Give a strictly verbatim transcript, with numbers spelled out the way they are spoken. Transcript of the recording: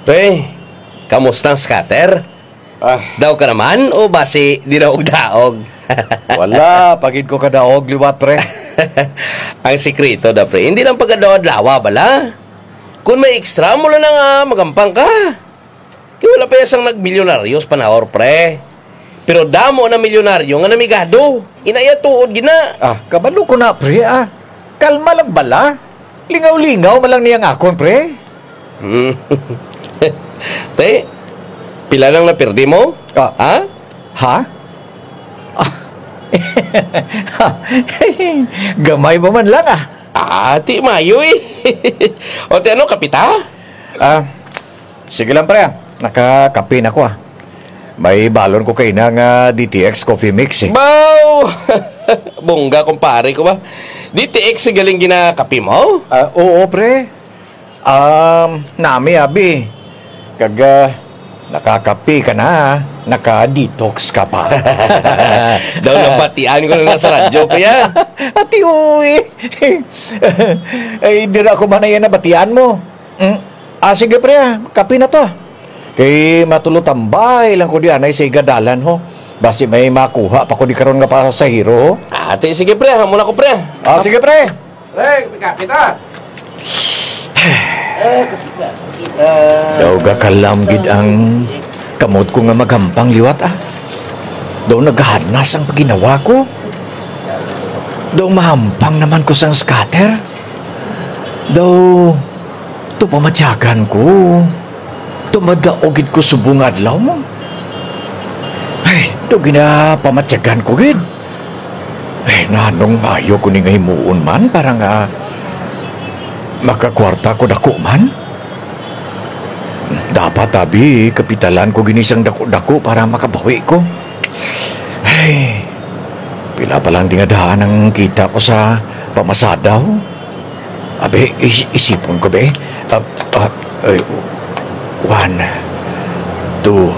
Pre, kamusta ang scatter? Ah. Daw ka naman o basi di daog-daog? Wala pa gid ko kadaog liwat, pre. Ang sikreto da, pre, hindi lang pagkadlaw-adlaw bala. Kung may extra mo lang nga magampang ka. Kay wala pa ya sang nagmilyonaryo sa panahon, pre. Pero damo na milyonaryo nga namigado. Ina ya tuod gid na. Ah, kabalo ko na, pre, ah. Kalma lang bala. Lingaw-lingaw man lang niya ang akon, pre. Hmm. Te, pila lang napirdi mo? Ah. Ha? Ha? Ah. Gamay pa man lang, ah. Ah, ti maayo, eh. O, ti ano, kape ta? Ah, sige lang, pre, ah. Nakakape na ko, ah. May balon ko kaina nga D T X coffee mix, eh. Baw! Bongga, kumpare ko ba. D T X ang galing ginakape mo? Ah, oo, pre. Um, nami, abi. Kag, ah, nakakape ka na, ah. Naka-detox ka pa. Daw nabatian ko na sa radyo, pre, ah. Ati, uy. Ay, dira ko man na yan nabatian mo. Mm. Ah, sige, pre, ah. Kape na to, ah. Kay matulotambay lang ko di anay sa igadalan, ho. Basi may makuha pa ko di karon nga pasahero, ho. Ah, ti, sige, pre, ah. Amo na ko, pre, ah. Ah, sige, pre. Pre, kape ta. Daw gakalam gid ang kamot ko nga magampang liwat, ah. Daw nagahanas ang pagginawa ko. Daw mahampang naman ko sang scatter. Daw, to pamatyagan ko. To madao gid ko subong adlaw. Ay, daw ginapamatyagan ko gid. Ay, nanong maayo ko ni nga himuon man para nga makakwarta ko dako man? Dapat abi, kapitalan ko gini sang dako-dako para makabawi ko. Ay, pila pa lang di nga daan ang kita ko sa pamasada, ho. Abi, is-, isipon ko, be. Ah, ah, ay, one, two,